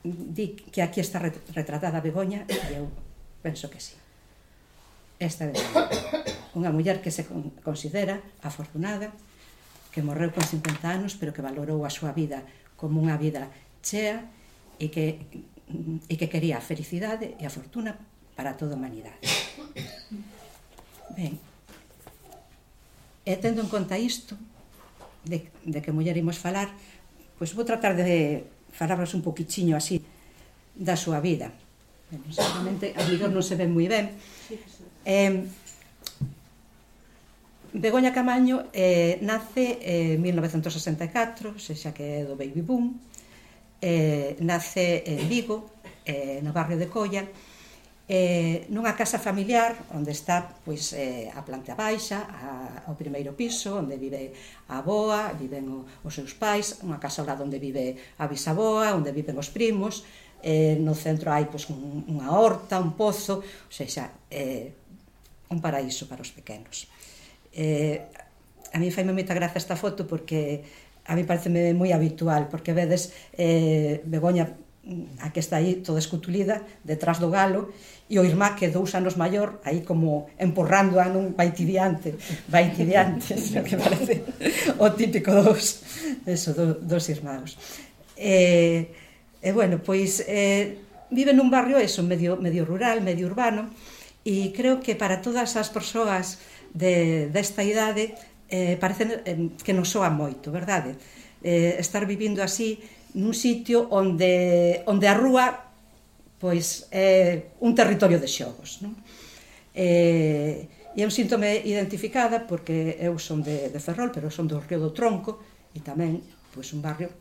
Di que aquí está retratada Begoña e eu penso que sí. Esta é unha muller que se considera afortunada, que morreu con 50 anos, pero que valorou a súa vida como unha vida chea e que quería a felicidade e a fortuna para toda a humanidade. Ben, e tendo en conta isto de que muller imos falar, pois vou tratar de falarvos un poquichiño así da súa vida. Seguramente a mellor non se ven moi ben. Begoña Camaño nace en 1964, sexa que é do baby boom. Nace en Vigo, no barrio de Colla, nunha casa familiar onde está pois a planta baixa, ao primeiro piso, onde vive a avoa, viven os seus pais, unha casa ao lado onde vive a bisaboa, onde viven os primos. No centro hai pois unha horta, un pozo, ou seja, un paraíso para os pequenos. A mí faime moita graza esta foto porque a mí pareceme moi habitual, porque vedes Begoña, a que está aí toda escutulida detrás do galo, e o irmá que 2 anos maior aí como empurrando-a nun vai ti diante, que parece o típico dos irmãos. Bueno, pois vive nun barrio medio rural, medio urbano, e creo que para todas as persoas desta idade parece que nos soa moito, verdade? Estar vivindo así nun sitio onde a rúa pois é un territorio de xogos, non? E eu síntome identificada porque eu son de Ferrol, pero son do Río do Tronco, e tamén pois un barrio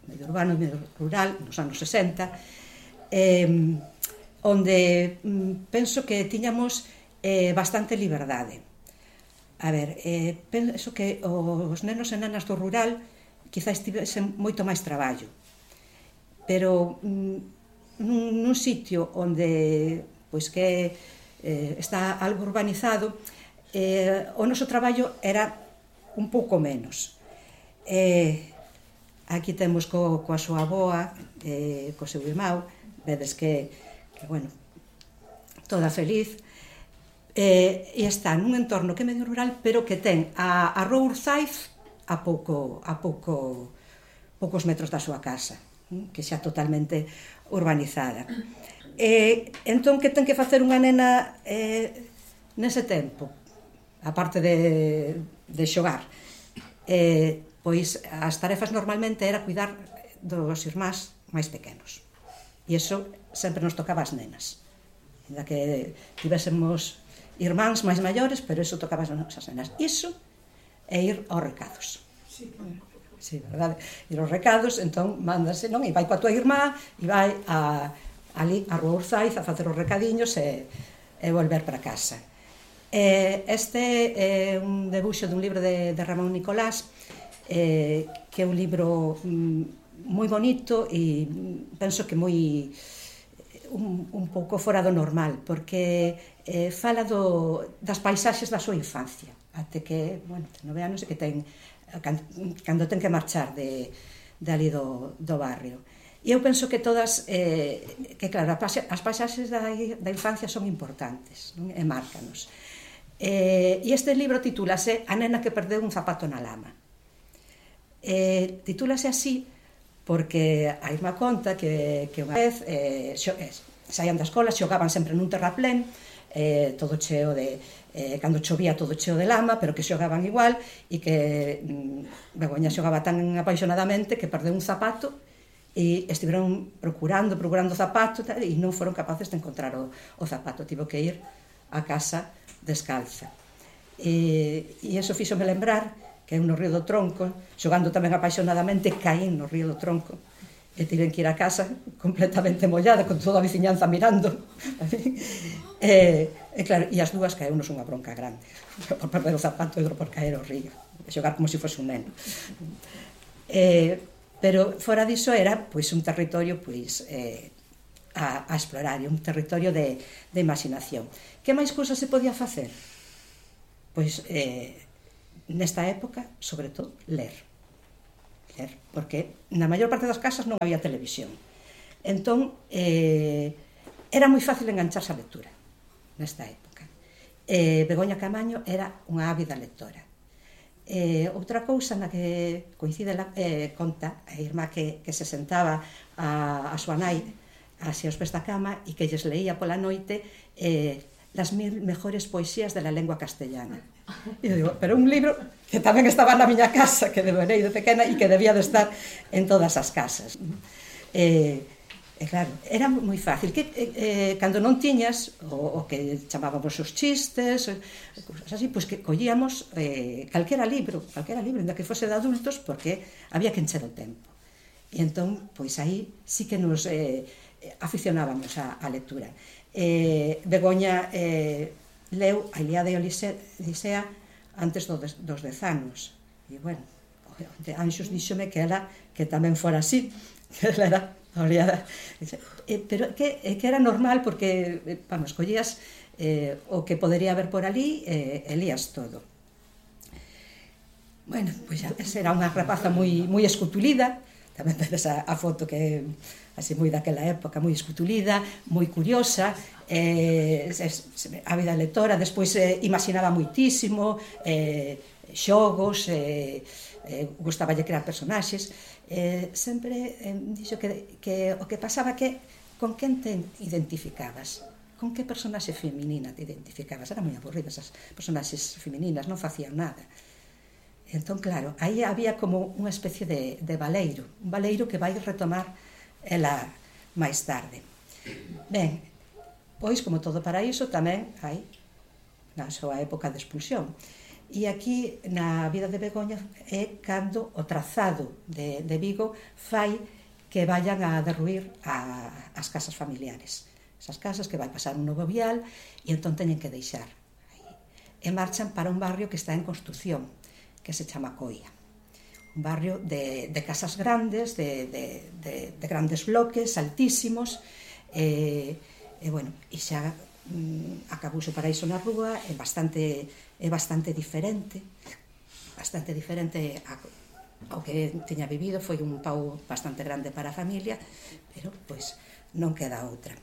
medio urbano, medio rural, nos anos 60, onde penso que tiñamos bastante liberdade. A ver, penso que os nenos e nenas do rural quizás tivesen moito máis traballo, pero nun sitio onde pois que está algo urbanizado, o noso traballo era un pouco menos. Aquí temos coa súa avoa, co seu irmão, vedes que bueno, toda feliz, e está nun entorno que é medio rural, pero que ten a Rúa Urzaiz a poucos metros da súa casa, que xa totalmente urbanizada. Entón, que ten que facer unha nena nese tempo, aparte de xogar? Pois as tarefas normalmente era cuidar dos irmáns máis pequenos, e iso sempre nos tocaba as nenas, ainda que tivésemos irmáns máis maiores, pero iso tocaba as nenas. Iso é ir aos recados. Sí, verdade? Ir aos recados, entón mándase, non? E vai coa tua irmá e vai ali a Rúa Urzaiz a facer os recadiños e volver para casa. Este é un debuxo dun libro de Ramón Nicolás, que é un libro moi bonito e penso que moi un pouco fora do normal, porque fala das paisaxes da súa infancia, até que, bueno, ten 9 anos e que ten cando ten que marchar de ali do barrio. E eu penso que todas, que claro, as paisaxes da infancia son importantes, non? E márcanos. E este libro titúlase A nena que perdeu un zapato na lama. Titúlase así porque a irmá conta que unha vez saían da escola, xogaban sempre nun terraplén, todo cheo de cando chovía todo cheo de lama, pero que xogaban igual, e que Begoña xogaba tan apaixonadamente que perdeu un zapato e estiveron procurando o zapato e non foron capaces de encontrar o zapato, tivo que ir a casa descalza. E iso fíxome lembrar que eu no Río do Tronco, xogando tamén apaixonadamente, caín no Río do Tronco e tiven que ir a casa completamente mollada, con toda a veciñanza mirando. E claro, e as dúas caeunos unha bronca grande, por perder o zapato e outro por caer ao río, e xogar como se fose un neno. Pero fora diso era pois un territorio pois a explorar, un territorio de imaginación. Que máis cousas se podía facer? Pois nesta época, sobre todo, ler. facer, porque na maior parte das casas non había televisión. Entón, era moi fácil engancharse a lectura nesta época. Begoña Camaño era unha ávida lectora. Outra cousa na que coincide conta a irmá que se sentaba a súa nai así aos pés da cama e que lles leía pola noite las 1000 mejores poesías de la lengua castellana. E eu digo, pero un libro que tamén estaba na miña casa, que devorei de pequena e que debía de estar en todas as casas. Claro, era moi fácil que cando non tiñas o que chamábamos os chistes, cousas así, pois que collíamos calquera libro, ainda que fose de adultos, porque había que encher o tempo. E entón, pois aí sí que nos aficionábamos á lectura. Begoña leu a Ilíada e Odisea antes dos 10 anos. E, bueno, Anxos díxome que ela que tamén fora así, que ela era oleada, pero que era normal porque, vamos, collías o que podería haber por ali e lías todo. Bueno, pois era unha rapaza moi escutulida, tamén vedes a foto que así moi daquela época, moi escutulida, moi curiosa, ávida lectora, despois imaginaba moitísimo, xogos, gustaballe crear personaxes, sempre dixo que o que pasaba que con quen te identificabas, con que personaxe feminina te identificabas. Eran moi aburridas as personaxes femininas, non facían nada. Entón, claro, aí había como unha especie de baleiro, un baleiro que vai retomar ela máis tarde. Ben, pois, como todo paraíso, tamén hai na súa época de expulsión. E aquí, na vida de Begoña, é cando o trazado de Vigo fai que vayan a derruir as casas familiares. Esas casas que vai pasar un novo vial e entón teñen que deixar. E marchan para un barrio que está en construción, que se chama Coia. Un barrio de casas grandes, de grandes bloques, altísimos, e xa acabouse o paraíso na rúa, é bastante diferente ao que tiña vivido. Foi un pau bastante grande para a familia, pero pois non queda outra.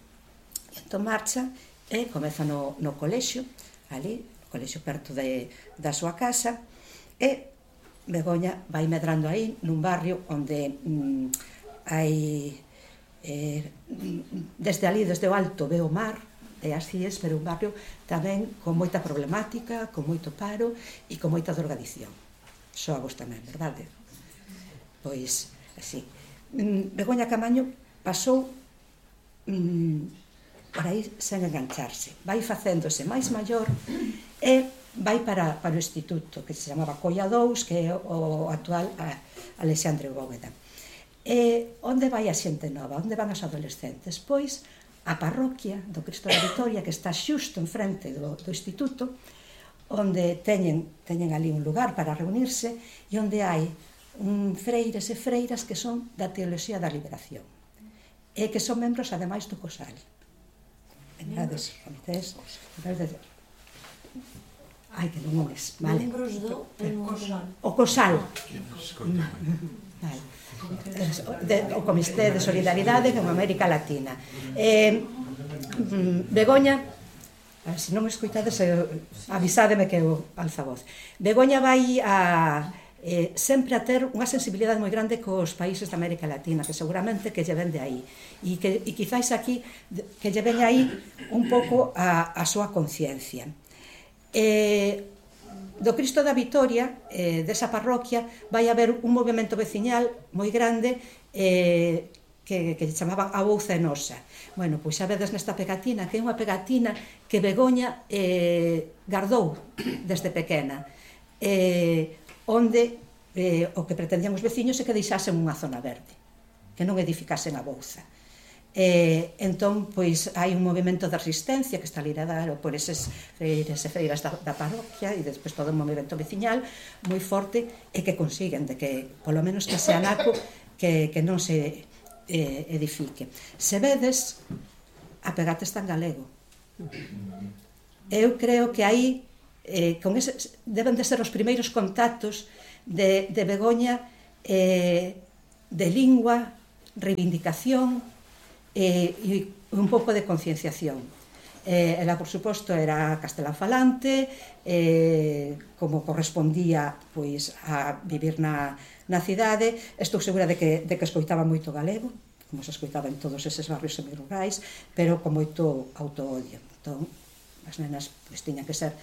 Entón marcha e comeza no colexio, ali, no colexio perto da súa casa, e Begoña vai medrando aí nun barrio onde hai desde ali, desde o alto, ve o mar e as cíes, pero un barrio tamén con moita problemática, con moito paro e con moita drogadición. Xogos tamén, verdade? Pois, así. Begoña Camaño pasou por aí sen engancharse. Vai facéndose máis maior e vai para o instituto, que se chamaba Coia 2, que é o actual Alexandre Bóveda. Onde vai a xente nova? Onde van os adolescentes? Pois a parroquia do Cristo da Vitoria, que está xusto enfrente do instituto, onde teñen ali un lugar para reunirse e onde hai freires e freiras que son da Teoloxía da Liberación e que son membros, ademais, do COSAL. Vendades, comités... Ai, que non es, vale. Membros do COSAL. O COSAL. Vale. O Comité de Solidaridade con América Latina. Begoña, se non me escoitades, avisádeme que eu altavoz. Begoña vai sempre a ter unha sensibilidade moi grande cos países da América Latina, que seguramente que lle ven de aí, e quizáis aquí que lle ven aí un pouco a súa conciencia. Do Cristo da Vitoria, desa parroquia, vai haber un movimento veciñal moi grande que chamaban a Bouza Enosa. Bueno, pois xa vedes nesta pegatina, que é unha pegatina que Begoña gardou desde pequena, onde o que pretendían os veciños é que deixasen unha zona verde, que non edificasen a Bouza. Entón, pois, hai un movimento de resistencia que está liderado por eses freires e freiras da parroquia e despois todo un movimento veciñal moi forte e que consiguen de que, polo menos que sea naco, que non se edifique. Se vedes, a pegata está en galego. Eu creo que aí deben de ser os primeiros contactos de Begoña de lingua, reivindicación e un pouco de concienciación. Ela, por suposto, era castelán-falante, como correspondía pois a vivir na cidade. Estou segura de que escoitaba moito galego, como se escoitaba en todos eses barrios semirurais, pero con moito autoodio. Entón, as nenas pois tiñan que ser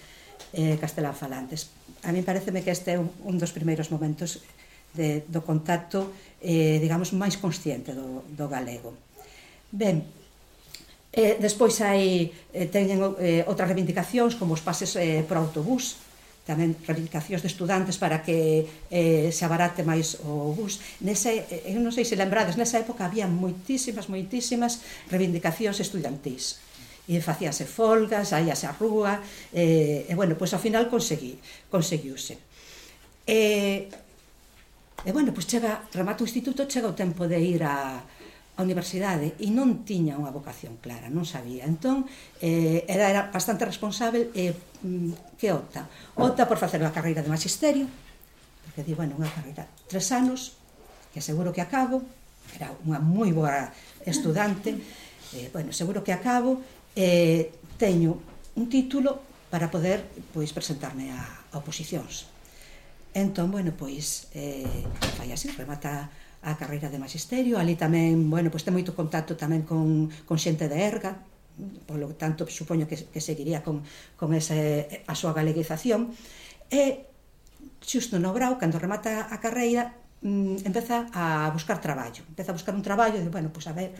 castelán-falantes. A mí pareceme que este é un dos primeiros momentos do contacto, digamos, máis consciente do galego. Ben, despois teñen outras reivindicacións, como os pases por autobús, tamén reivindicacións de estudantes para que se abarate máis o bus. Eu non sei se lembrades, nesa época había moitísimas reivindicacións estudantís. E facíase folgas, saíase á rúa, e, bueno, pois ao final conseguiuse. E, bueno, pois remata o instituto, chega o tempo de ir á universidade e non tiña unha vocación clara, non sabía. Entón, era bastante responsável e que opta? Opta por facer unha carreira de magisterio, porque di, bueno, unha carreira 3 anos, que seguro que acabo, era unha moi boa estudante, bueno, seguro que acabo, teño un título para poder, pois, presentarme a oposicións. Entón, bueno, pois, fai así, remata a carreira de magisterio, ali tamén, bueno, pois ten moito contacto tamén con xente de Erga, polo tanto, supoño que seguiría con a súa galeguización, e xusto no grau, cando remata a carreira, empeza a buscar traballo, empeza a buscar un traballo, e, bueno, pois a ver,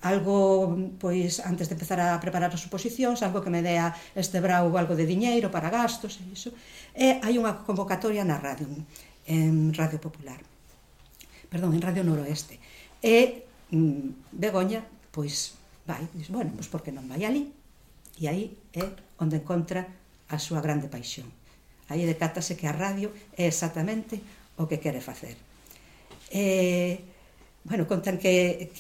algo, pois, antes de empezar a preparar as oposicións, algo que me dea este brau algo de diñeiro para gastos e iso. E hai unha convocatoria na radio, en Radio Popular, perdón, en Radio Noroeste. E Begoña, pois, vai, diz, bueno, pois porque non vai ali? E aí é onde encontra a súa grande paixón. Aí decátase que a radio é exactamente o que quere facer. Bueno, contan que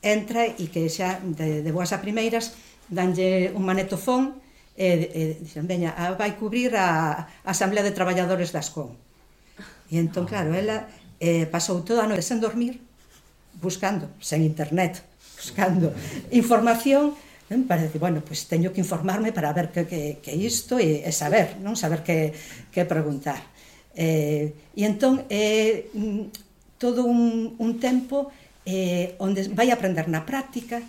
entra e que xa de boas a primeiras danlle un manetofón e dicen, veña, vai cubrir a Asamblea de Traballadores das CON. E entón, claro, ela pasou toda a noite sen dormir, buscando, sen internet, buscando información, para decir, bueno, pois teño que informarme para ver que isto e saber, non? Saber que preguntar. E entón, todo un tempo onde vai aprender na práctica,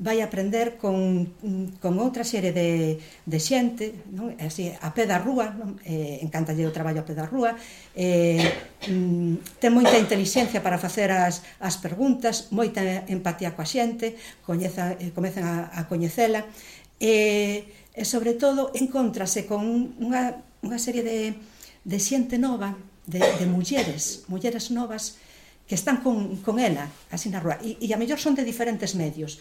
vai aprender con outra serie de xente, non? Así, a pé da rúa, encantalle o traballo a pé da rúa, ten moita intelixencia para facer as preguntas, moita empatía coa xente, comezan a coñecela, e sobre todo encontrase con unha serie de xente nova, de mulleres novas, que están con ela, así na rúa, e a mellor son de diferentes medios.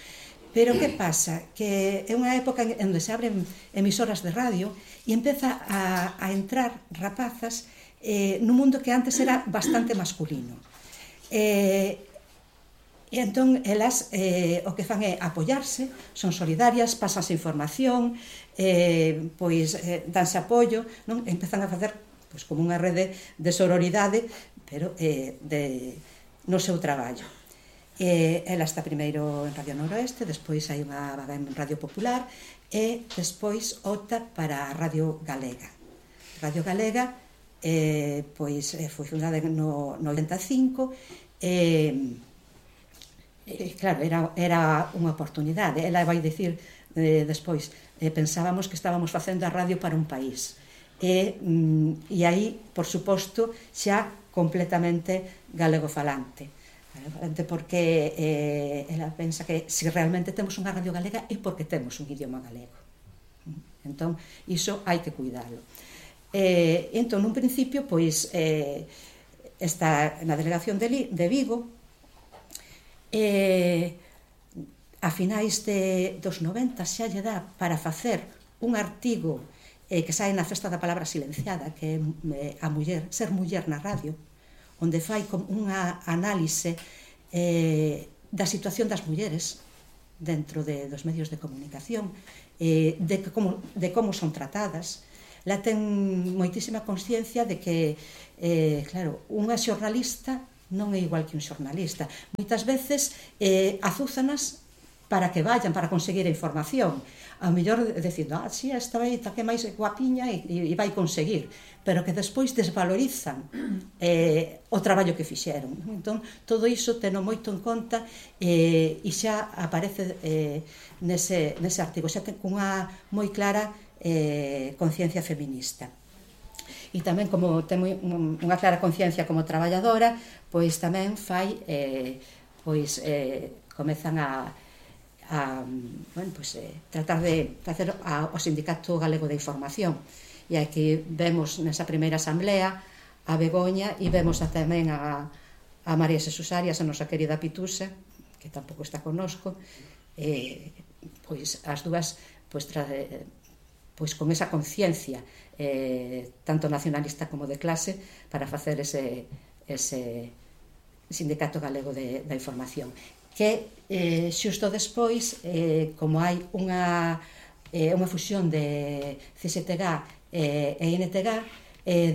Pero que pasa? Que é unha época onde se abren emisoras de radio e empeza a entrar rapazas nun mundo que antes era bastante masculino. E entón, elas o que fan é apoiarse, son solidarias, pasanse información, pois danse apoio, non? Empezan a facer pois como unha rede de sororidade, pero no seu traballo. Ela está primeiro en Radio Noroeste, despois hai unha vaga en Radio Popular e despois opta para a Radio Galega. Radio Galega pois foi fundada no 85 e claro, era unha oportunidade. Ela vai dicir despois, pensábamos que estábamos facendo a radio para un país e aí, por suposto, xa completamente galegofalante, porque ela pensa que se realmente temos unha radio galega é porque temos un idioma galego. Entón, iso hai que cuidalo. Entón, nun principio, pois, está na delegación de Vigo, a finais dos 90 xa lle dá para facer un artigo que sae na Festa da Palabra Silenciada, que é a muller, ser muller na radio, onde fai unha análise da situación das mulleres dentro dos medios de comunicación, de como son tratadas. ela ten moitísima consciencia de que, claro, unha xornalista non é igual que un xornalista. Moitas veces azúzanas para que vayan, para conseguir a información. Ao mellor dicindo, si, esta vai que máis guapiña e vai conseguir, pero que despois desvalorizan o traballo que fixeron. Entón, todo iso teno moito en conta e xa aparece nese artigo, xa ten unha moi clara conciencia feminista. E tamén, como ten unha clara conciencia como traballadora, pois tamén fai, comezan a tratar de facer o Sindicato Galego de Información. E aquí vemos nesa primeira asamblea a Begoña e vemos tamén a María Xesús Arias, a nosa querida Pitusa, que tampouco está connosco, pois as dúas con esa conciencia tanto nacionalista como de clase para facer ese Sindicato Galego da Información, que xusto despois, como hai unha fusión de CSTG e INTG,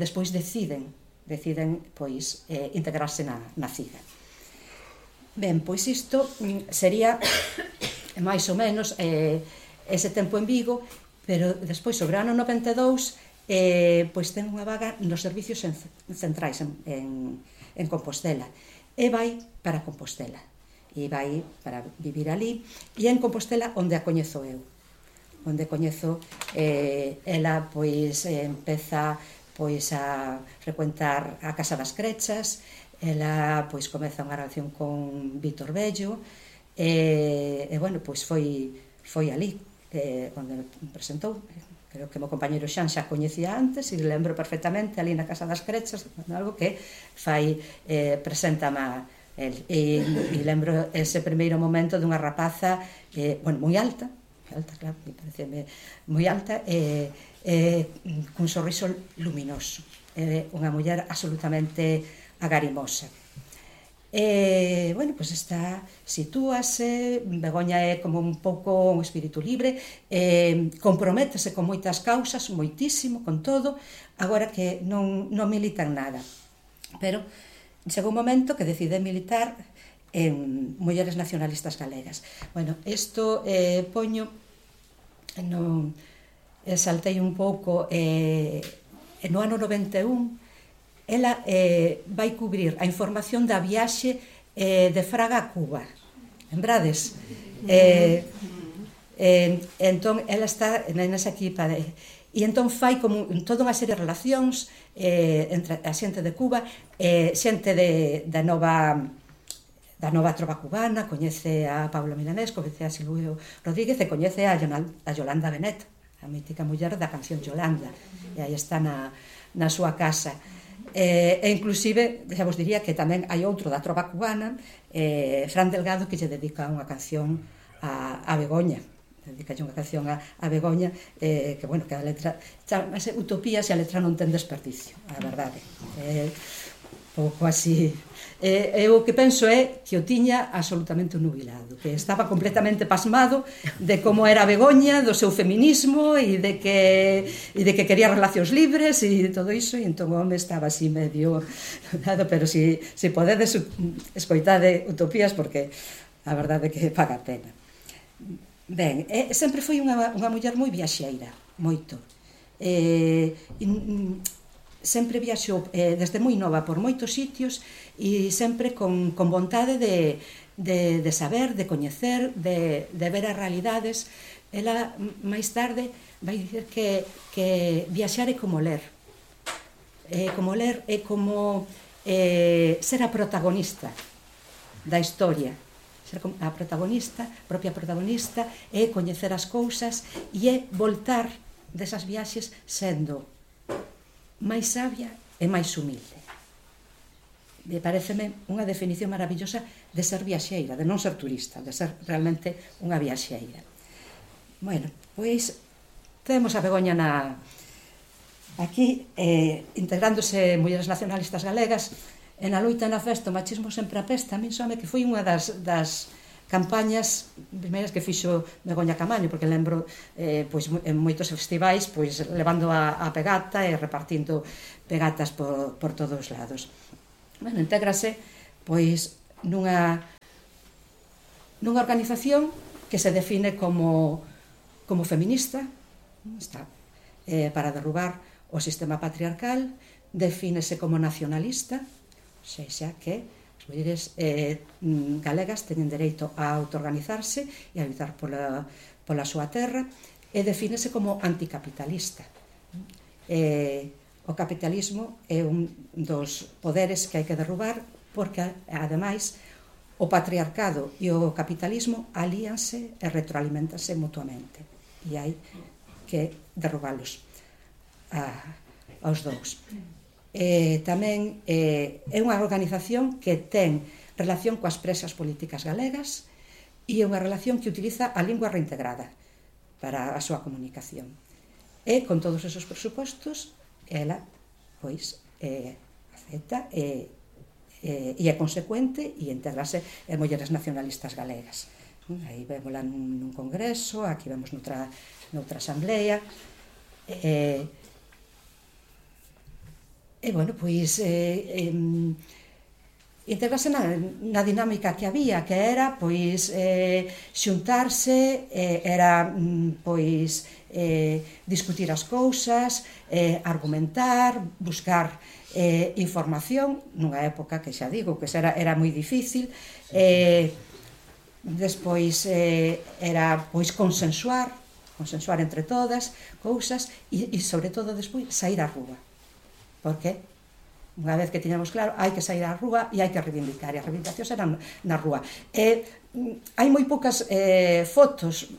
despois deciden pois integrarse na CIGA. Ben, pois isto sería máis ou menos ese tempo en Vigo, pero despois sobre o ano 92 pois ten unha vaga nos servicios centrais en Compostela e vai para Compostela e vai para vivir ali, e en Compostela onde a coñezo eu, onde coñezo ela pois empeza pois a frecuentar a Casa das Crechas, ela pois comeza unha relación con Víctor Bello e bueno, pois foi ali onde me presentou. Creo que o meu compañeiro Xan xa coñecía antes e lembro perfectamente ali na Casa das Crechas algo que fai presenta-me e lembro ese primeiro momento dunha rapaza moi alta, claro, me parece moi alta cun sorriso luminoso, unha muller absolutamente agarimosa. Bueno, pois sitúase, Begoña é como un pouco un espírito libre, comprométese con moitas causas, moitísimo, con todo, agora que non milita en nada, pero chegou un momento que decide militar en Mulleres Nacionalistas Galegas. Bueno, isto poño, saltei un pouco, no ano 91, ela vai cubrir a información da viaxe de Fraga a Cuba. Lembrades? Entón, ela está nesa equipa e entón fai como toda unha serie de relacións entre a xente de Cuba, xente da nova trova cubana, coñece a Pablo Milanés, coñece a Silvio Rodríguez e coñece a Yolanda Benet, a mítica muller da canción Yolanda, e aí está na súa casa. E inclusive, xa vos diría que tamén hai outro da trova cubana, Fran Delgado, que lle dedica unha canción a Begoña, dedicalle unha canción a Begoña, que, bueno, que a letra chamase Utopías e a letra non ten desperdicio, a verdade. Pouco así. Eu o que penso é que o tiña absolutamente nubilado, que estaba completamente pasmado de como era Begoña, do seu feminismo e de que quería relacións libres e todo iso, e entón o home estaba así medio nada, pero si podedes escoitade Utopías, porque a verdade é que paga a pena. Ben, sempre foi unha muller moi viaxeira, moito. Sempre viaxou desde moi nova por moitos sitios e sempre con vontade de saber, de coñecer, de ver as realidades. Ela máis tarde vai dicir que viaxar é como ler. Como ler é como ser a protagonista da historia. Ser a propia protagonista, é coñecer as cousas e é voltar desas viaxes sendo máis sabia e máis humilde. Pareceme unha definición maravillosa de ser viaxeira, de non ser turista, de ser realmente unha viaxeira. Bueno, pois temos a Begoña aquí integrándose Mulleres Nacionalistas Galegas. En a loita na festa, o machismo sempre apesta, a min sóme que foi unha das campañas primeiras que fixo Begoña Camaño, porque lembro pois, en moitos festivais pois, levando a pegata e repartindo pegatas por todos os lados. Bueno, intégrase pois, nunha organización que se define como feminista, está para derrubar o sistema patriarcal, defínese como nacionalista, ou seja, que as mulleres galegas teñen dereito a autoorganizarse e a lutar pola súa terra, e defínese como anticapitalista. O capitalismo é un dos poderes que hai que derrubar porque, ademais, o patriarcado e o capitalismo alíanse e retroalimentanse mutuamente e hai que derrubalos aos dous. Tamén é unha organización que ten relación coas presas políticas galegas e é unha relación que utiliza a lingua reintegrada para a súa comunicación. E con todos esos presupostos ela pois acepta e é consecuente e integrase en mulleres nacionalistas galegas. Aí vémola nun congreso, aquí vemos noutra asamblea, e bueno, pois integrase na dinámica que había, que era pois xuntarse, era pois discutir as cousas, argumentar, buscar información nunha época que xa digo que era moi difícil, despois era pois consensuar entre todas cousas e sobre todo despois sair á rúa, porque unha vez que tiñamos claro hai que sair á rúa e hai que reivindicar, e as reivindicacións eran na rúa. Hai moi poucas fotos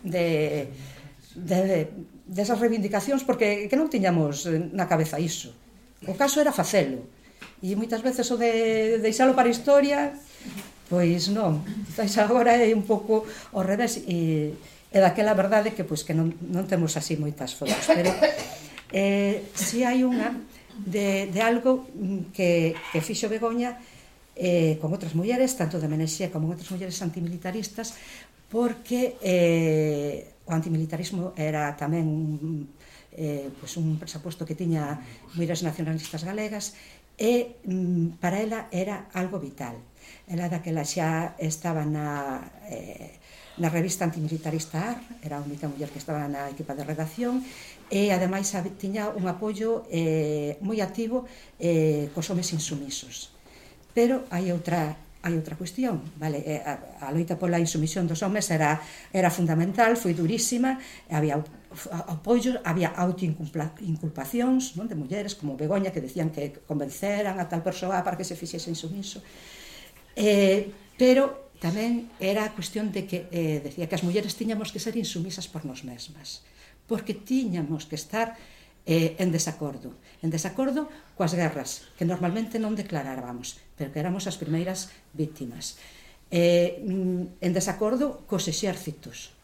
desas reivindicacións porque non tiñamos na cabeza iso. O caso era facelo, e moitas veces o de deixalo para a historia, pois non, agora é un pouco ao revés, e daquela verdade que non temos así moitas fotos, pero si hai unha de algo que fixo Begoña con outras mulleres, tanto de Menexía como outras mulleres antimilitaristas, porque o antimilitarismo era tamén un presuposto que tiña mulleres nacionalistas galegas e para ela era algo vital. Ela daquela xa estaba na revista antimilitarista AR, era a única muller que estaba na equipa de redacción e ademais tiña un apoio moi activo cos homes insumisos. Pero hai outra cuestión, vale? A loita pola insumisión dos homes era fundamental, foi durísima, había apoios, había autoinculpacións de mulleres como Begoña que decían que convenceran a tal persoa para que se fixese insumiso, pero tamén era a cuestión de que decía que as mulleres tiñamos que ser insumisas por nos mesmas, porque tiñamos que estar en desacordo coas guerras que normalmente non declarábamos, pero que éramos as primeiras víctimas, en desacordo cos exércitos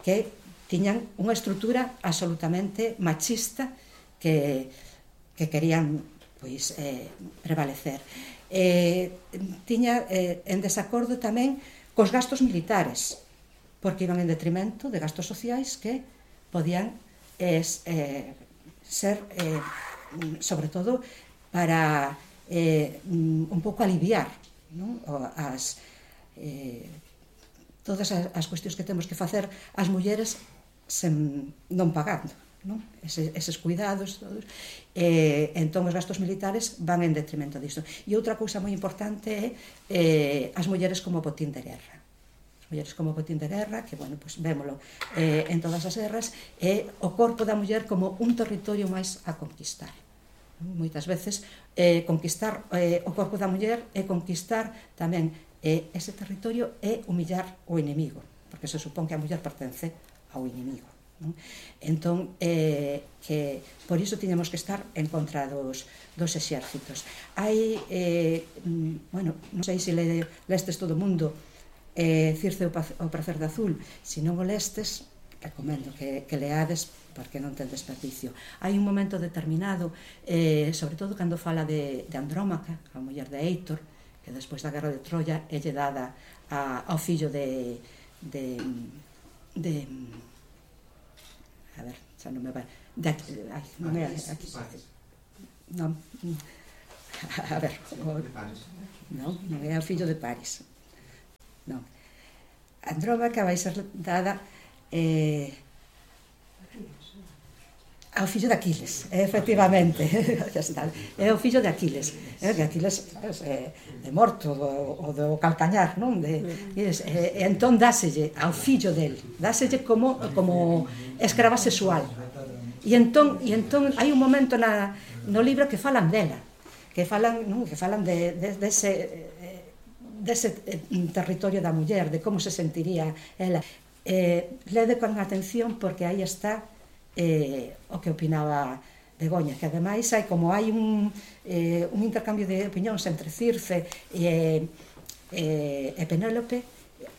que tiñan unha estrutura absolutamente machista que querían pois prevalecer, tiña en desacordo tamén cos gastos militares, porque iban en detrimento de gastos sociais que podían ser sobre todo para un pouco aliviar, non? Todas as cuestións que temos que facer as mulleres non pagando, non? Eses cuidados todos. Entón os gastos militares van en detrimento disto. E outra cousa moi importante é as mulleres como botín de guerra. As mulleres como botín de guerra, que, bueno, pues vémolo en todas as guerras, é o corpo da muller como un territorio máis a conquistar. Moitas veces conquistar o corpo da muller é conquistar tamén ese territorio é humillar o inimigo, porque se supón que a muller pertence ao inimigo, non? Entón, que por iso tiñamos que estar en contra dos exércitos. Hai, bueno, non sei se lestes todo o mundo Circe o prazer de azul, se non o lestes, recomendo que leades porque non ten desperdicio. Hai un momento determinado, sobre todo cando fala de Andrómaca, a muller de Heitor, que despois da guerra de Troia é lle dada ao fillo de a ver, xa non me vai non é aquí non a ver non é o fillo de Paris non, Andrómaca vai ser dada ao fillo de Aquiles, efectivamente é o fillo de Aquiles que Aquiles é morto o do calcañar, non? E entón dáselle ao fillo del, dáselle como escrava sexual e entón hai un momento no libro que falan dela, que falan dese territorio da muller, de como se sentiría ela. Lede con atención porque aí está o que opinaba Begoña, que ademais hai un intercambio de opinións entre Circe e Penélope,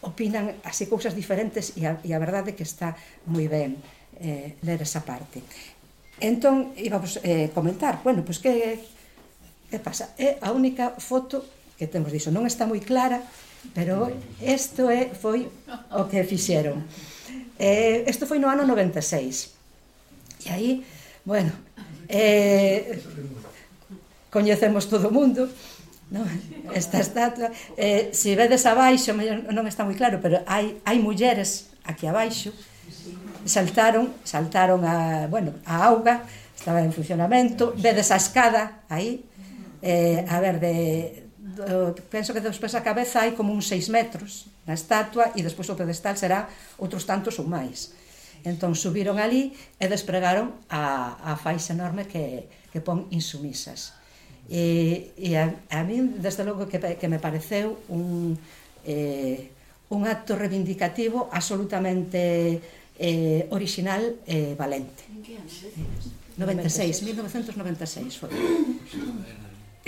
opinan así cousas diferentes e a verdade é que está moi ben ler esa parte. Entón, íbamos comentar, bueno, pois que pasa? É a única foto que temos diso, non está moi clara, pero isto foi o que fixeron. Isto foi no ano 96. E aí, bueno, coñecemos todo o mundo, non? Esta estatua, se vedes abaixo, non está moi claro, pero hai mulleres aquí abaixo, saltaron a auga, estaba en funcionamento, vedes a escada aí, a ver, penso que despois a cabeza hai como uns 6 metros na estatua e despois o pedestal será outros tantos ou máis. Entón subiron ali e despregaron a faixa enorme que pon insumisas. E a min, desde logo, que me pareceu un acto reivindicativo absolutamente orixinal e valente. 1996 foi.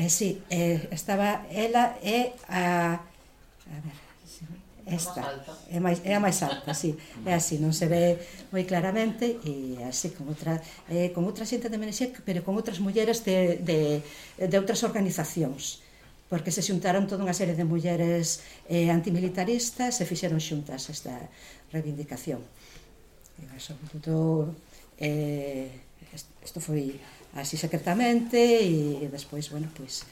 Sí, estaba ela e a ver, esta é a máis alta, sí, é así, non se ve moi claramente, e así con outra xente de Menexec, pero con outras mulleres de outras organizacións, porque se xuntaron toda unha serie de mulleres antimilitaristas e fixeron xuntas esta reivindicación. E sobre todo isto foi así secretamente e despois, bueno, pois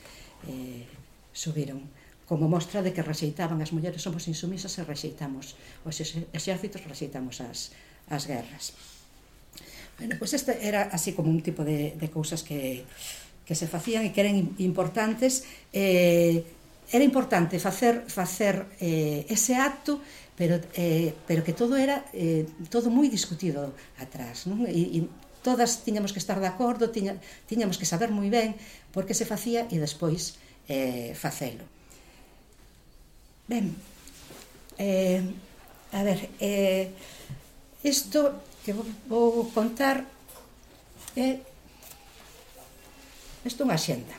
subiron como mostra de que rexeitaban as mulleres, somos insumisas e rexeitamos os exércitos, rexeitamos as guerras. Bueno, pois este era así como un tipo de cousas que se facían e que eran importantes. Era importante facer ese acto, pero que todo era todo moi discutido atrás, non? E todas tiñamos que estar de acordo, tiñamos que saber moi ben por que se facía e despois facelo. Ben, a ver, isto que vou contar isto é unha xenda.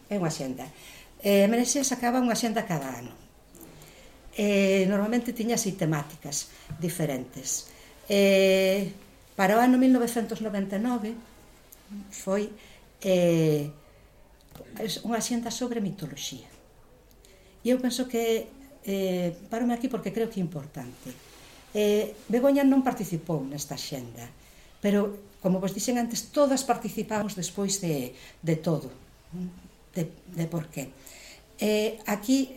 É unha xenda. Menexec sacaba unha xenda cada ano. Normalmente tiña así temáticas diferentes. Para o ano 1999 foi unha xenda sobre mitoloxía. E eu penso que parome aquí porque creo que é importante. Begoña non participou nesta xenda, pero, como vos dixen antes, todas participamos despois de todo, de por qué. Aquí,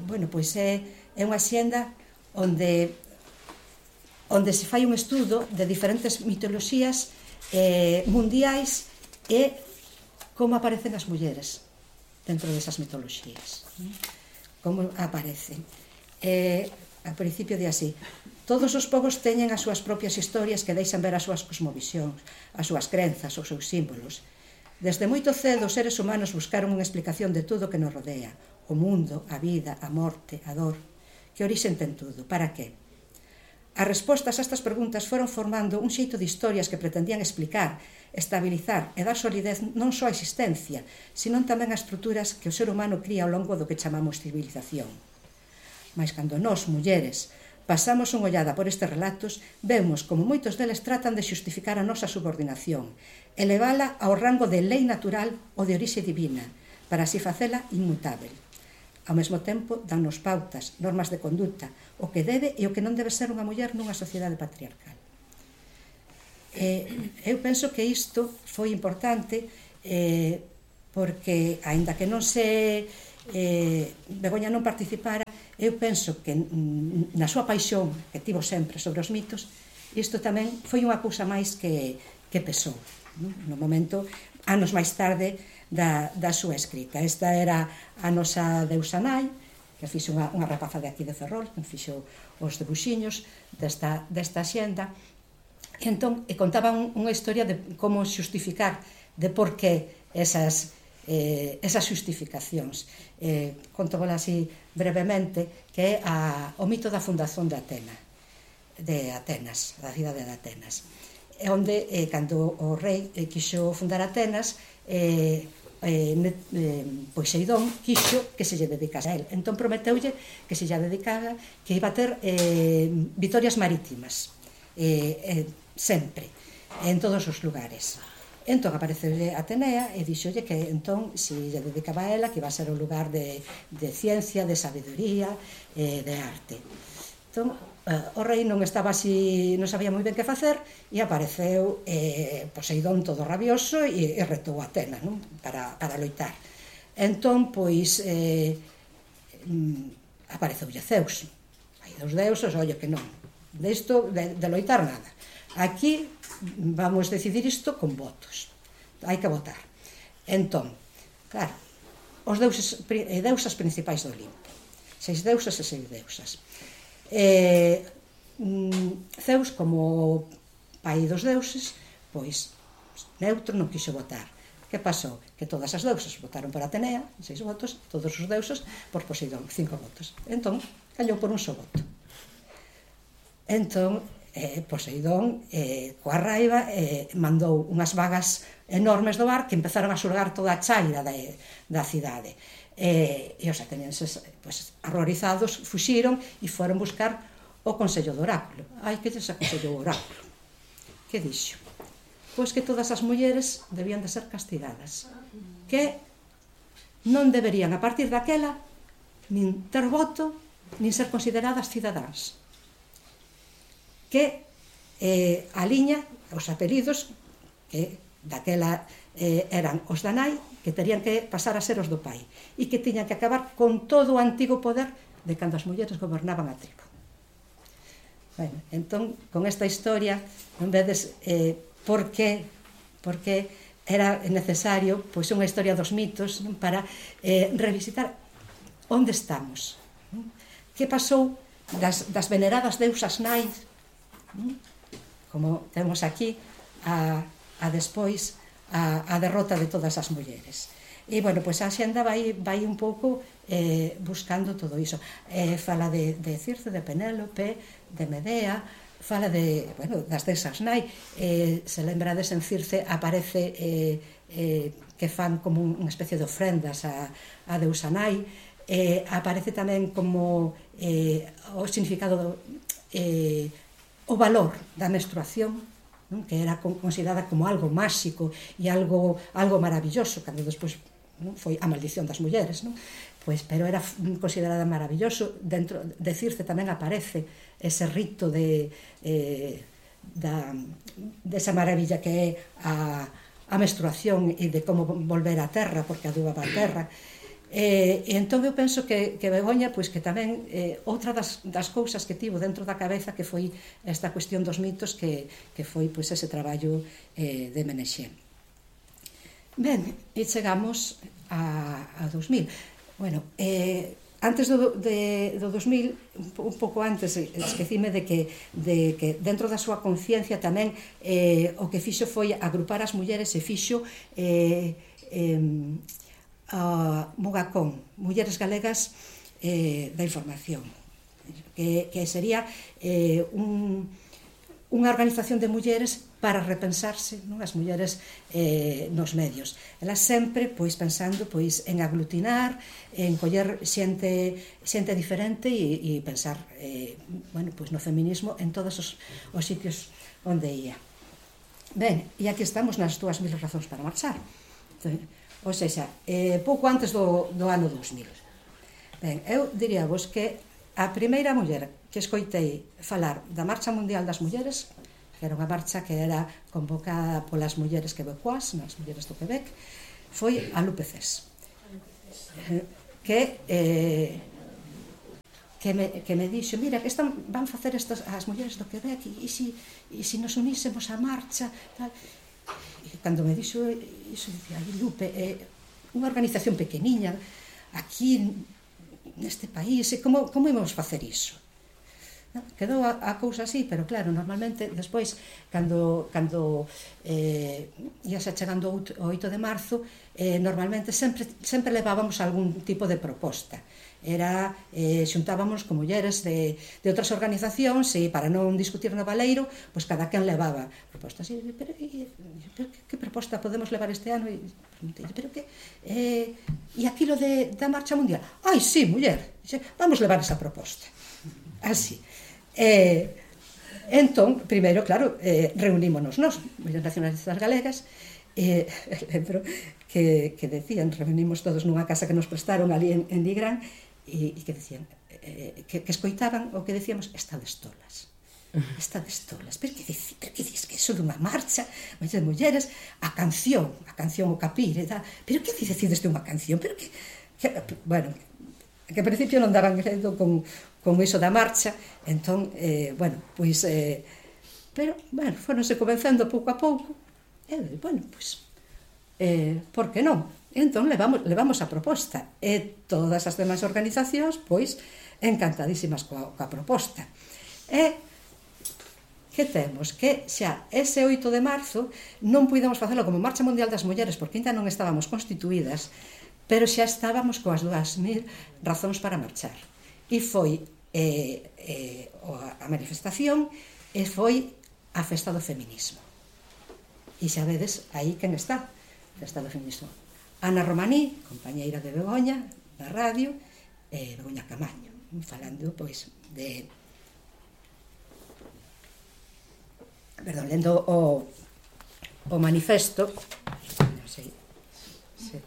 bueno, pois é unha xenda onde se fai un estudo de diferentes mitoloxías mundiais e como aparecen as mulleres dentro desas mitoloxías, como aparecen. Ao principio de así: todos os povos teñen as súas propias historias que deixan ver as súas cosmovisións, as súas crenzas, os seus símbolos. Desde moito cedo os seres humanos buscaron unha explicación de tudo o que nos rodea: o mundo, a vida, a morte, a dor. Que orixen ten tudo? Para que? As respostas a estas preguntas foron formando un xeito de historias que pretendían explicar, estabilizar e dar solidez non só á existencia, senón tamén a estruturas que o ser humano cría ao longo do que chamamos civilización. Mais cando nós, mulleres, pasamos unha ollada por estes relatos, vemos como moitos deles tratan de xustificar a nosa subordinación, elevala ao rango de lei natural ou de orixe divina, para así facela inmutável. Ao mesmo tempo, dannos pautas, normas de conduta, o que debe e o que non debe ser unha muller nunha sociedade patriarcal. Eu penso que isto foi importante porque, aínda que non se Begoña non participara, eu penso que na súa paixón que tivo sempre sobre os mitos, isto tamén foi unha cousa máis que pesou no momento, anos máis tarde, da súa escrita. Esta era a nosa deusa nai, que fixo unha rapaza de aquí de Ferrol, que fixo os debuxiños desta xenda, e entón contaba unha historia de como xustificar, de por que esas xustificacións. Conto así brevemente, que é o mito da fundación de Atenas, da cidade de Atenas, onde cando o rei quixo fundar Atenas, Poseidón quixo que se lle dedicase a él, entón prometeulle que se lle dedicaba, que iba a ter vitorias marítimas sempre, en todos os lugares. Entón apareceulle Atenea e dixolle que entón, se lle dedicaba a ela, que iba a ser un lugar de ciencia, de sabiduría, de arte. Entón, o rei non estaba así, non sabía moi ben que facer, e apareceu Poseidón todo rabioso e retou a Atenas, non? Para loitar. Entón, pois, apareceulle Zeus. Hai dos deuses, ollo que non, de loitar nada. Aquí vamos decidir isto con votos, hai que votar. Entón, claro, os deuses e deusas principais do Olimpo, 6 deusas e 6 deusas. Zeus, como pai dos deuses, pois neutro, non quixo votar. Que pasou? Que todas as deusas votaron por Atenea, 6 votos, todos os deuses por Poseidón, 5 votos. Entón, callou por un só voto. Entón, Poseidón, coa raiva, mandou unhas vagas enormes do mar que empezaron a xulgar toda a chaira da cidade. E os atenienses, horrorizados, fuxiron e foron buscar o Consello do Oráculo. Ai, que lles aconsellou o Oráculo? Que dixo? Pois que todas as mulleres debían de ser castigadas, que non deberían, a partir daquela, nin ter voto, nin ser consideradas cidadáns. Que a liña, os apelidos, que daquela eran os da nai, que terían que pasar a ser os do pai, e que tiñan que acabar con todo o antigo poder de cando as mulleres gobernaban a tribo. Bueno, entón, con esta historia, non vedes por que era necesario unha historia dos mitos para revisitar onde estamos, que pasou das veneradas deusas nais, como temos aquí, a despois a derrota de todas as mulleres. E, bueno, pois a xenda vai un pouco buscando todo iso. Fala de Circe, de Penélope, de Medea, fala das deusas nai. Se lembrades, en Circe aparece que fan como unha especie de ofrendas a deusa nai. Aparece tamén como o significado, o valor da menstruación, que era considerada como algo máxico e algo maravilloso, cando despois foi a maldición das mulleres, pero era considerada maravilloso. Dentro de Circe tamén aparece ese rito desa maravilla que é a menstruación e de como volver á terra, porque adubaba a terra. E entón eu penso que Begoña, pois que tamén outra das cousas que tivo dentro da cabeza, que foi esta cuestión dos mitos, que foi pois ese traballo de Menexé. Ben, e chegamos a 2000. Bueno, antes do 2000, un pouco antes, esquecime de que dentro da súa conciencia tamén o que fixo foi agrupar as mulleres e fixo Mugacón, Mulleres Galegas da Información, que sería unha organización de mulleres para repensarse, as mulleres nos medios. Elas sempre pensando en aglutinar, en coller xente diferente e pensar no feminismo en todos os sitios onde ia. Ben, e aquí estamos nas 2000 razóns para marchar. ou seja, pouco antes do ano 2000. Ben, eu diríavos que a primeira muller que escoitei falar da Marcha Mundial das Mulleres, que era unha marcha que era convocada polas mulleres quebecoas, nas mulleres do Quebec, foi a Lupe Cés, que me dixo, mira, que van facer as mulleres do Quebec e se nos unísemos á marcha, tal. E cando me dixo iso, dicía, Lupe, unha organización pequeniña aquí neste país, como íbamos facer iso? Quedou a cousa así, pero claro, normalmente despois, cando iase chegando o 8 de marzo, normalmente sempre levábamos algún tipo de proposta. Xuntábamos con mulleres de outras organizacións e para non discutir no baleiro, pois cada quen levaba propostas. Pero que proposta podemos levar este ano? E aquilo da Marcha Mundial? Ai, sí, muller, vamos levar esa proposta. Así. Entón, primeiro, claro, reunímonos nós, mulleres nacionalistas galegas, lembro que decían, reunimos todos nunha casa que nos prestaron ali en Nigrán, e que decían, que escoitaban o que decíamos, estades tolas, pero que dices que eso dunha marcha, de mulleres, a canción o capire, pero que decides de unha canción, pero que bueno, que ao principio non daban credo con iso da marcha, entón, pero, foronse comenzando pouco a pouco, por que non? Entón, levamos a proposta, e todas as demais organizacións, pois, encantadísimas coa proposta. E que temos? Que xa ese 8 de marzo non puidemos facelo como Marcha Mundial das Mulleres, porque ainda non estábamos constituídas, pero xa estábamos coas 2.000 razóns para marchar. E foi a manifestación e foi a festa do feminismo. E xa vedes aí quen está, a festa do feminismo. Ana Romaní, compañeira de Begoña, da radio, e Begoña Camaño, falando, pois, lendo o manifesto, non sei se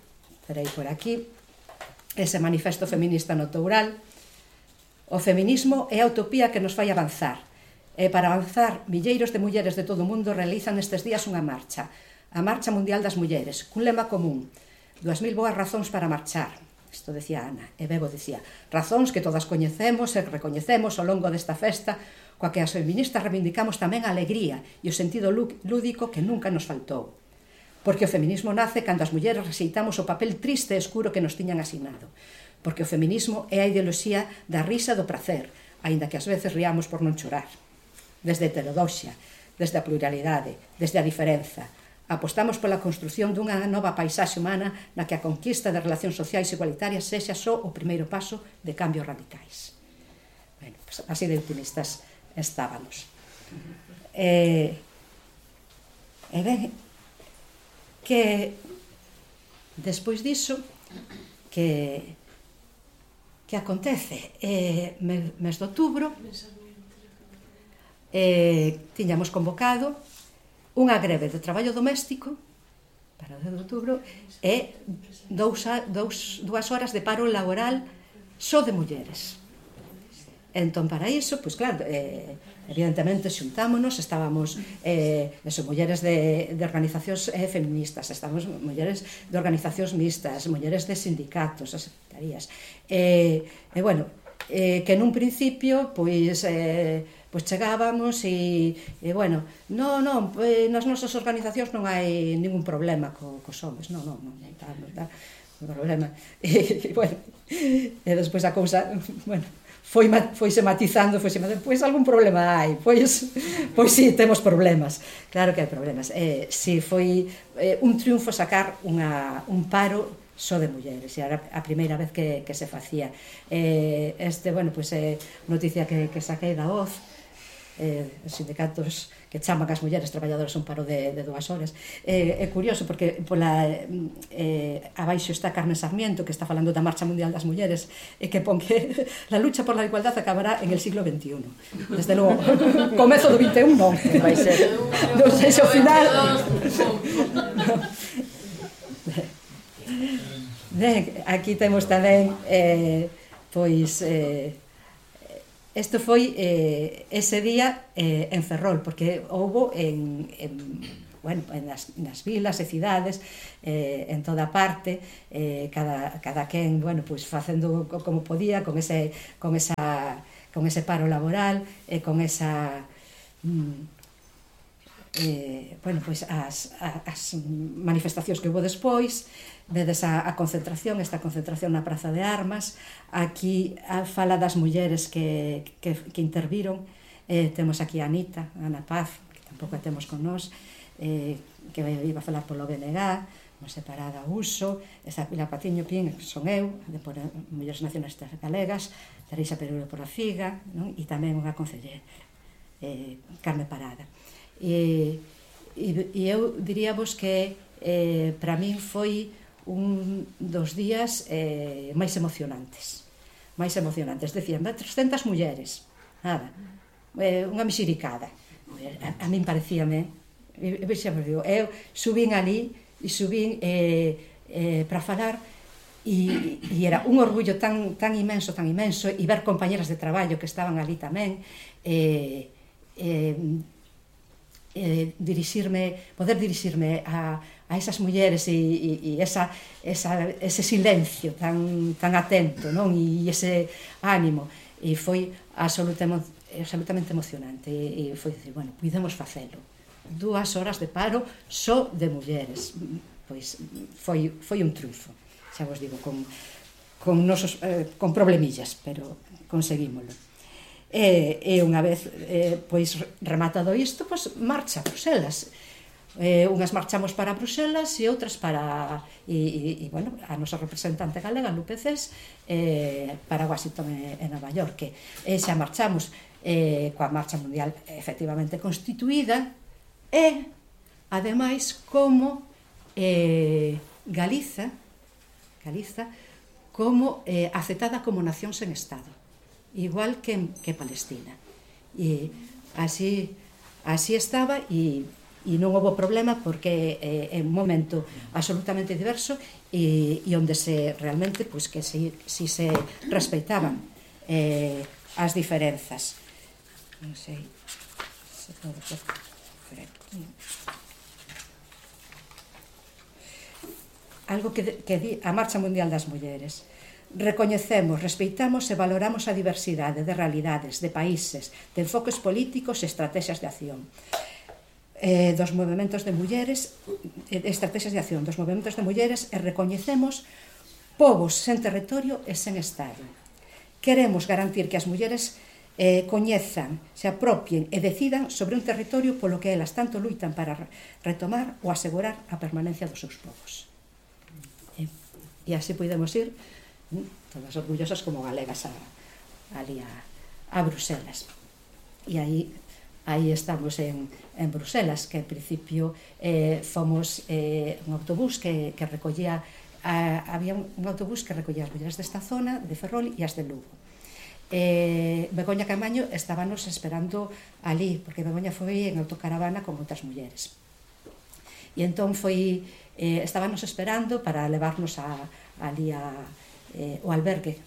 terei por aquí, ese manifesto feminista no Toural. O feminismo é a utopía que nos fai avanzar, e para avanzar, milleiros de mulleres de todo o mundo realizan estes días unha marcha, a Marcha Mundial das Mulleres, cun lema común, 2.000 boas razóns para marchar. Isto decía Ana, e Bebo decía, razóns que todas coñecemos e recoñecemos ao longo desta festa, coa que as feministas reivindicamos tamén a alegría e o sentido lúdico que nunca nos faltou. Porque o feminismo nace cando as mulleres rexeitamos o papel triste e escuro que nos tiñan asignado. Porque o feminismo é a ideoloxía da risa e do prazer, aínda que ás veces riamos por non chorar. Desde a heterodoxia, desde a pluralidade, desde a diferenza, apostamos pola construción dunha nova paisaxe humana na que a conquista de relacións sociais igualitarias sexa só o primeiro paso de cambios radicais. Bueno, pues así de optimistas estábamos. E ben, que despois diso, que acontece? Mes de outubro, tiñamos convocado unha greve de traballo doméstico para o 10 de outubro e 2 horas de paro laboral só de mulleres. Entón, para iso, pois claro, evidentemente xuntámonos, estábamos mulleres de organizacións feministas, estábamos mulleres de organizacións mixtas, mulleres de sindicatos, as secretarías, bueno, que nun principio, pois chegábamos e bueno, non, nas nosas organizacións non hai ningún problema cos homes, non está problema, e bueno, e despois a cousa, bueno, foise matizando, pois algún problema hai, pois si, temos problemas, claro que hai problemas. Si foi un triunfo sacar un paro só de mulleres, e era a primeira vez que se facía. Bueno, pois noticia que saquei da Voz, os sindicatos que chaman as mulleres traballadoras un paro de 2 horas. É curioso porque abaixo está Carmen Sarmiento, que está falando da Marcha Mundial das Mulleres, e que pon que la lucha por la igualdad acabará en el siglo XXI. Desde logo, comezo do XXI non vai ser, non sei se ao final. Aquí temos tamén pois isto foi ese día en Ferrol, porque houbo nas vilas e cidades, en toda parte, cada quen pois facendo como podía con ese paro laboral e con esa pois as manifestacións que houve despois. Vedes esta concentración na Praza de Armas. Aquí fala das mulleres que interviron. Temos aquí a Anita, Ana Paz, que tampouco a temos con nós, que iba a falar polo BNG, non separada a uso. Esta Pilar Patiño Pín, que son eu, de por Mulleres Nacionalistas Galegas, Teresa Pereiro por a Figa, non? E tamén unha concelleira, Carme Parada. E eu diríavos que para min foi un dos días máis emocionantes. Decían, 300 mulleres, nada, unha mexericada. A min parecíame, eu subín ali e subín para falar, e era un orgullo tan imenso, e ver compañeras de traballo que estaban ali tamén, poder dirixirme a esas mulleres e ese silencio tan atento, non? E ese ánimo, e foi absolutamente emocionante, e foi dicir, podemos facelo, 2 horas de paro só de mulleres, pois foi un triunfo, xa vos digo, con problemillas, pero conseguímolo. E unha vez pois rematado isto, pois marcha a Bruselas. Unhas marchamos para Bruselas e outras para a nosa representante galega, Lupe Cés, para Washington e Nova York. Xa marchamos coa marcha mundial efectivamente constituída, e ademais como Galiza como aceptada como nación sen Estado, igual que Palestina. E así estaba, e non houve problema, porque é un momento absolutamente diverso e onde realmente que si se respeitaban as diferenzas. Non sei se podo por aquí. Algo que di a Marcha Mundial das Mulleres: recoñecemos, respeitamos e valoramos a diversidade de realidades, de países, de enfoques políticos e estrategias de acción dos movementos de mulleres, e recoñecemos povos sen territorio e sen Estado. Queremos garantir que as mulleres coñezan, se apropien e decidan sobre un territorio polo que elas tanto luitan para retomar ou asegurar a permanencia dos seus povos. E así podemos ir todas orgullosas como galegas ali a Bruselas. E aí estamos en Bruselas, que en principio fomos un autobús que recollía, había un autobús que recollía as mulleres desta zona, de Ferrol e as de Lugo. Begoña Camaño estábanos esperando ali, porque Begoña foi en autocaravana con outras mulleres. E entón estábanos esperando para levarnos ali o albergue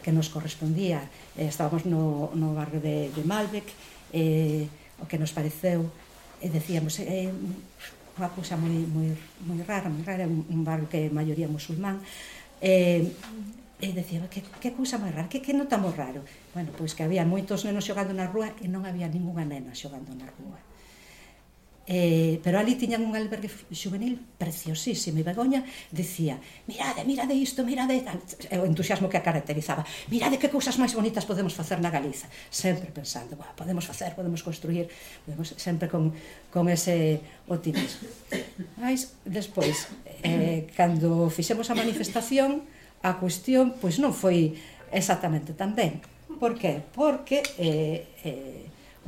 que nos correspondía. Estábamos no barrio de Malbec, o que nos pareceu, decíamos, unha cousa moi rara, un barrio que é maioría musulmán, e decíamos, que cousa moi rara, que notamos raro? Pois que había moitos nenos xogando na rúa e non había ningunha nena xogando na rúa. Pero ali tiñan un albergue juvenil preciosísimo, e Begoña dicía, mirade isto, mirade tal, o entusiasmo que a caracterizaba, mirade que cousas máis bonitas podemos facer na Galiza, sempre pensando, podemos facer, podemos construir, sempre con ese optimismo. Mas despois, cando fixemos a manifestación, a cuestión pois non foi exactamente tan ben. Por que? Porque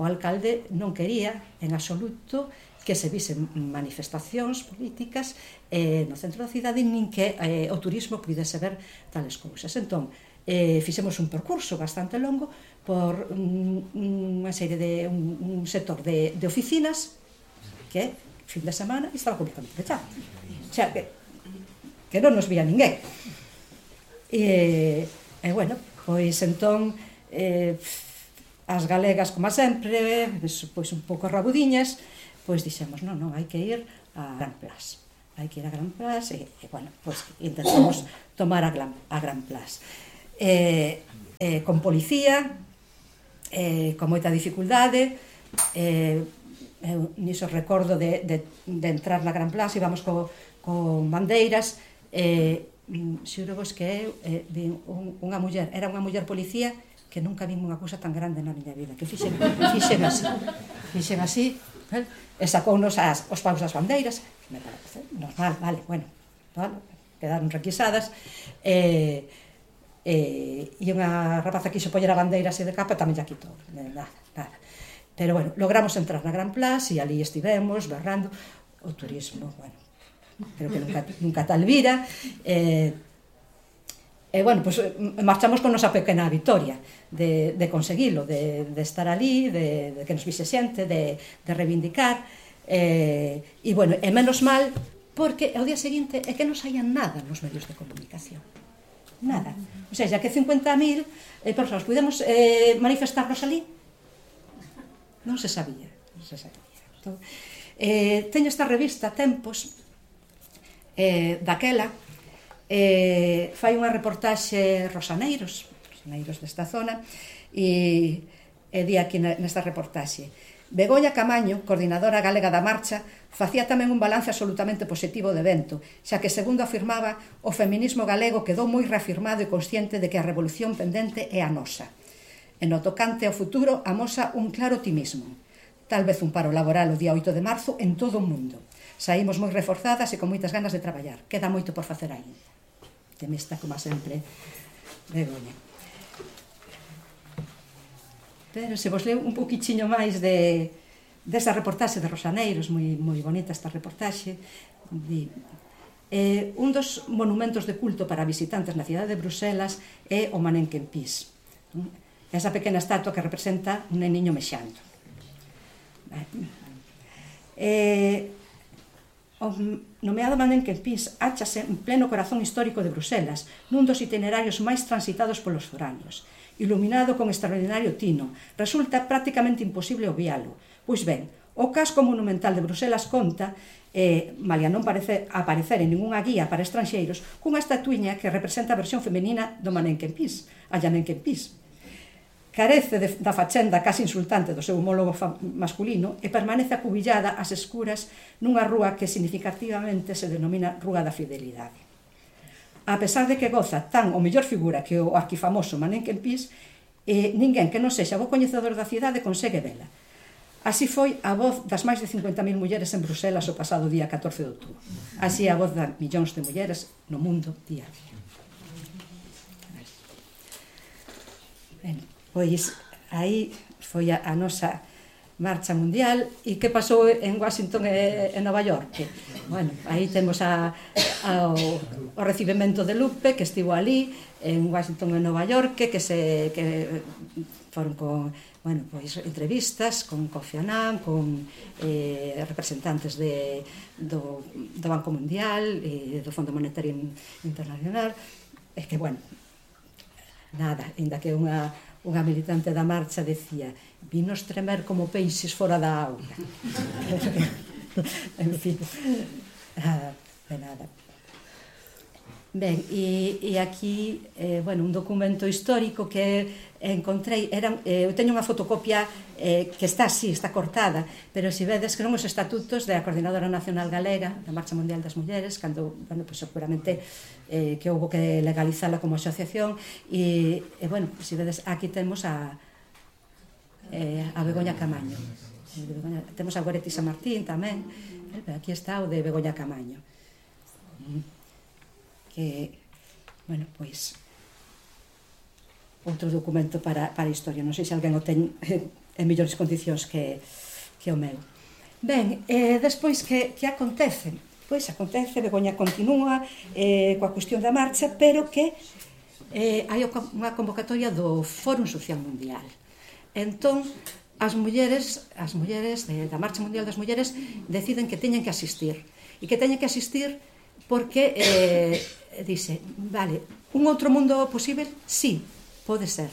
o alcalde non quería en absoluto que se visen manifestacións políticas no centro da cidade, nin que o turismo pudese ver tales cousas. Entón, fixemos un percurso bastante longo por unha serie de un sector de oficinas que fin de semana estaba completamente pechado. O sea, que que non nos vía ninguén. E bueno, pois entón as galegas, como sempre, pois un pouco rabudiñas, pois dixemos, non, hai que ir a Gran Place. Hai que ir a Gran Place e bueno, pois intentamos tomar a Gran Place. Con policía, con moita dificultade, eu niso recordo de entrar na Gran Place, íbamos con bandeiras, xuro vos que eu vi unha muller, era unha muller policía que nunca vi unha cousa tan grande na miña vida, que fixen así, e sacounos os paus das bandeiras, me parece normal, vale, bueno, quedaron requisadas, e unha rapaza quixo poñer a bandeira así de capa, tamén ya quitou, nada. Pero bueno, logramos entrar na Gran Place e ali estivemos berrando o turismo, bueno, creo que nunca tal vira, e bueno, pues marchamos con nosa pequena vitoria de conseguilo, de estar ali, de que nos vise xente, de reivindicar, e bueno, e menos mal, porque ao día seguinte é que non saían nada nos medios de comunicación, nada, o sea, que 50.000 persoas pudemos manifestarnos ali, non se sabía. Entón, teño esta revista Tempos, daquela, fai unha reportaxe rosaneiros desta zona, e di aquí nesta reportaxe: Begoña Camaño, coordinadora galega da marcha, facía tamén un balance absolutamente positivo do evento, xa que, segundo afirmaba, o feminismo galego quedou moi reafirmado e consciente de que a revolución pendente é a nosa. E no tocante ao futuro amosa un claro optimismo. Tal vez un paro laboral o día 8 de marzo en todo o mundo. Saímos moi reforzadas e con moitas ganas de traballar. Queda moito por facer aí. Temista, como sempre, Begoña. Pero se vos leo un poquichiño máis desa reportaxe de Rosaneiros, moi bonita esta reportaxe, un dos monumentos de culto para visitantes na cidade de Bruselas é o Mannequin Peace, esa pequena estatua que representa un neniño mexando. O nomeado Mannequin Peace áchase en pleno corazón histórico de Bruselas, nun dos itinerarios máis transitados polos foráneos. Iluminado con extraordinario tino, resulta prácticamente imposible obvialo. Pois ben, o casco monumental de Bruselas conta, malia non parece aparecer en ningunha guía para estranxeiros, cunha estatuiña que representa a versión femenina do Mannequin Peace, a Mannequin Peace. Carece da fachenda casi insultante do seu homólogo masculino e permanece acubillada ás escuras nunha rúa que significativamente se denomina Rúa da Fidelidade. A pesar de que goza tan ou mellor figura que o arquifamoso Mannequin Peace, ninguén que non sexa bo coñecedor da cidade consegue vela. Así foi a voz das máis de 50.000 mulleres en Bruselas o pasado día 14 de outubro. Así é a voz de millóns de mulleres no mundo día a día. Ben, pois aí foi a nosa marcha mundial. E que pasou en Washington e Nova York? Bueno, aí temos o recibimento de Lupe, que estivo ali en Washington e Nova York, que foron con, bueno, pois entrevistas con Kofi Annan, con representantes do Banco Mundial e do Fondo Monetario Internacional. É que, bueno, nada, ainda que unha militante da marcha decía: vinos tremer como peixes fora da auga. En fin, de nada. Ben, e aquí, bueno, un documento histórico que encontrei, eu teño unha fotocopia que está así, está cortada, pero se vedes que non os estatutos da Coordinadora Nacional Galega, da Marcha Mundial das Mulleres, cando, bueno, pues seguramente que houve que legalizala como asociación, e bueno, se vedes, aquí temos a Begoña Camaño. Temos a Goretti San Martín tamén, aquí está o de Begoña Camaño. Que, bueno, pois outro documento para a historia. Non sei se alguén o ten en mellores condicións que o meu. Ben, despois que acontece? Pois acontece, Begoña continúa coa cuestión da marcha, pero que hai unha convocatoria do Fórum Social Mundial. Entón, as mulleres da Marcha Mundial das Mulleres deciden que teñen que asistir, e que teñen que asistir porque dice, vale, un outro mundo posible? Sí, pode ser,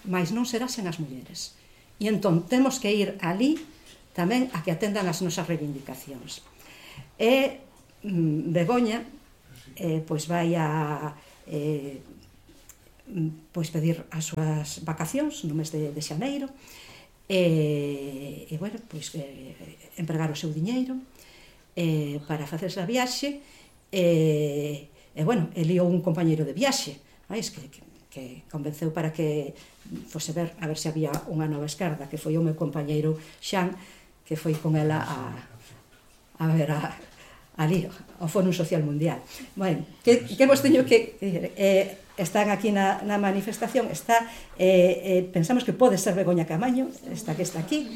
mas non será sen as mulleres. E entón temos que ir ali tamén a que atendan as nosas reivindicacións. E Begoña pois vai a pois pedir as súas vacacións no mes de xaneiro e bueno, pois empregar o seu diñeiro para facerse a viaxe e bueno, eliou un compañeiro de viaxe, que convenceu para que fose ver a ver se había unha nova esquerda, que foi o meu compañeiro Xan, que foi con ela a ver ali ao Fórum Social Mundial. Bueno, que vos teño que están aquí na manifestación, está pensamos que pode ser Begoña Camaño, esta que está aquí,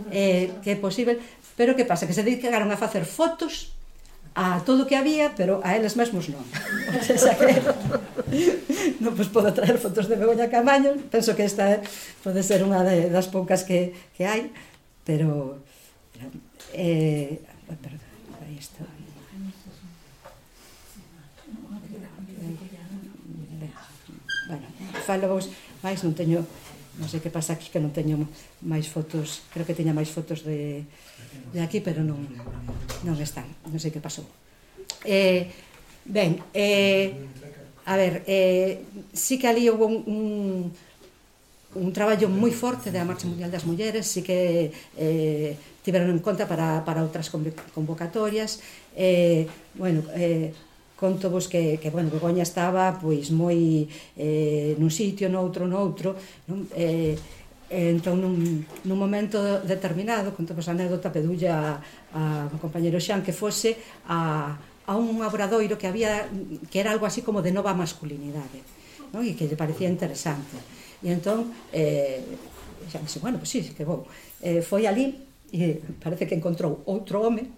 que é posible, pero que pasa? Que se dedicaron a facer fotos a todo o que había, pero a eles mesmos non. O sea que non pois podo traer fotos de Begoña Camaño, penso que esta pode ser unha das poucas que hai, pero aí está. Bueno, falo vos, máis non teño, non sei que pasa aquí, que non teño máis fotos, creo que teña máis fotos de aquí, pero non están, non sei que pasou. Ben, a ver, sí que ali houve un traballo moi forte da Marcha Mundial das Mulleres, sí que tiveron en conta para outras convocatorias. Bueno, conto vos que bueno, Begoña estaba pois moi nun sitio, noutro, non? Entón, nun momento determinado, conto vos a anécdota, pedulle ao compañeiro Xan que fose a un obradoiro que había, que era algo así como de nova masculinidade, non? E que lle parecía interesante. E entón, Xan dixo, bueno, pois sí, que vou. Foi ali e parece que encontrou outro home.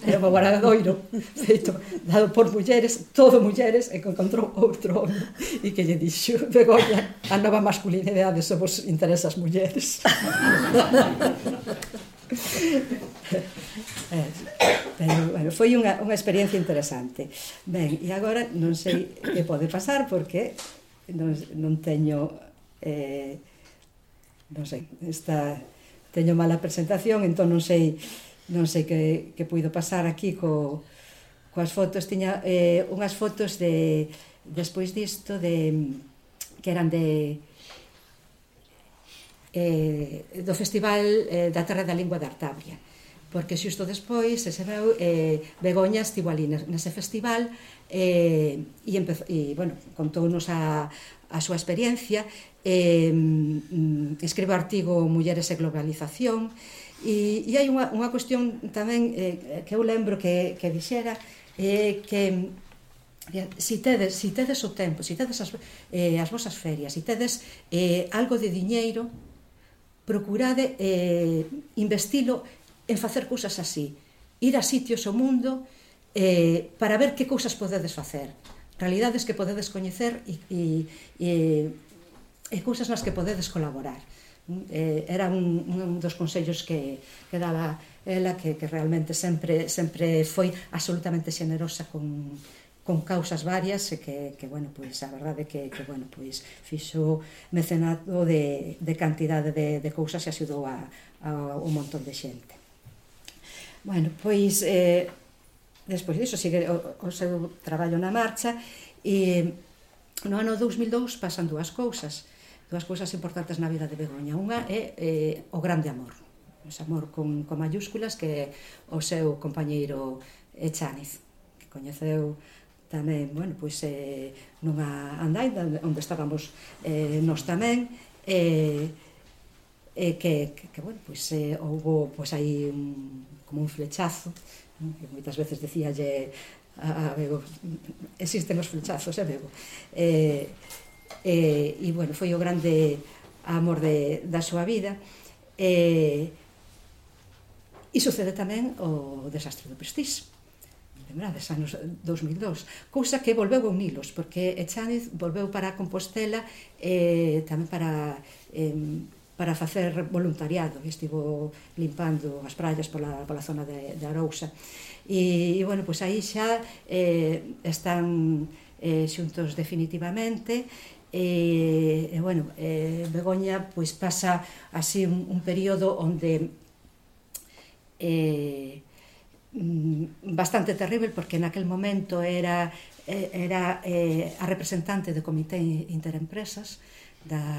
Era un obradoiro feito, dado por mulleres, todo mulleres, e que encontrou outro home e que lle dixo, Begoña, a nova masculinidade só vos interesa as mulleres. Pero, bueno, foi unha experiencia interesante. Ben, e agora non sei que pode pasar porque non teño non sei, teño mala presentación, entón non sei que puido pasar aquí coas fotos. Tiña unhas fotos despois disto que eran do Festival da Terra da Lingua de Artabria, porque xusto despois se veu Begoña estivo ali nese festival e bueno, contounos a súa experiencia, escribe o artigo Mulleres e Globalización. E hai unha cuestión tamén que eu lembro que dixera, que si tedes o tempo, si tedes as vosas ferias, si tedes algo de diñeiro, procurade investilo en facer cousas así, ir a sitios ao mundo para ver que cousas podedes facer, realidades que podedes coñecer e cousas nas que podedes colaborar. Era un dos consellos que daba ela, que realmente sempre foi absolutamente xenerosa con causas varias e que bueno, pois a verdade é que bueno, pois fixo mecenato de cantidade de cousas e axudou a un montón de xente. Bueno, pois despois disso sigue o seu traballo na marcha e no ano 2002 pasan dúas cousas importantes na vida de Begoña. Unha é o grande amor, ese amor con mayúsculas, que o seu compañeiro Echaniz, que coñeceu tamén, bueno, pois nunha andaina onde estábamos nós tamén, que bueno, pois houbo pois aí como un flechazo, que moitas veces decíalle a Bego, existen os flechazos, Bego, e bueno, foi o grande amor da súa vida. E sucede tamén o desastre do Prestige, lembrades, anos 2002, cousa que volveu a unilos, porque Echaniz volveu para Compostela tamén para para facer voluntariado, estivo limpando as praias pola zona de Arousa. E bueno, pois aí xa están xuntos definitivamente. E bueno, Begoña pois pasa así un período onde bastante terrible, porque naquel momento era a representante do Comité Interempresas da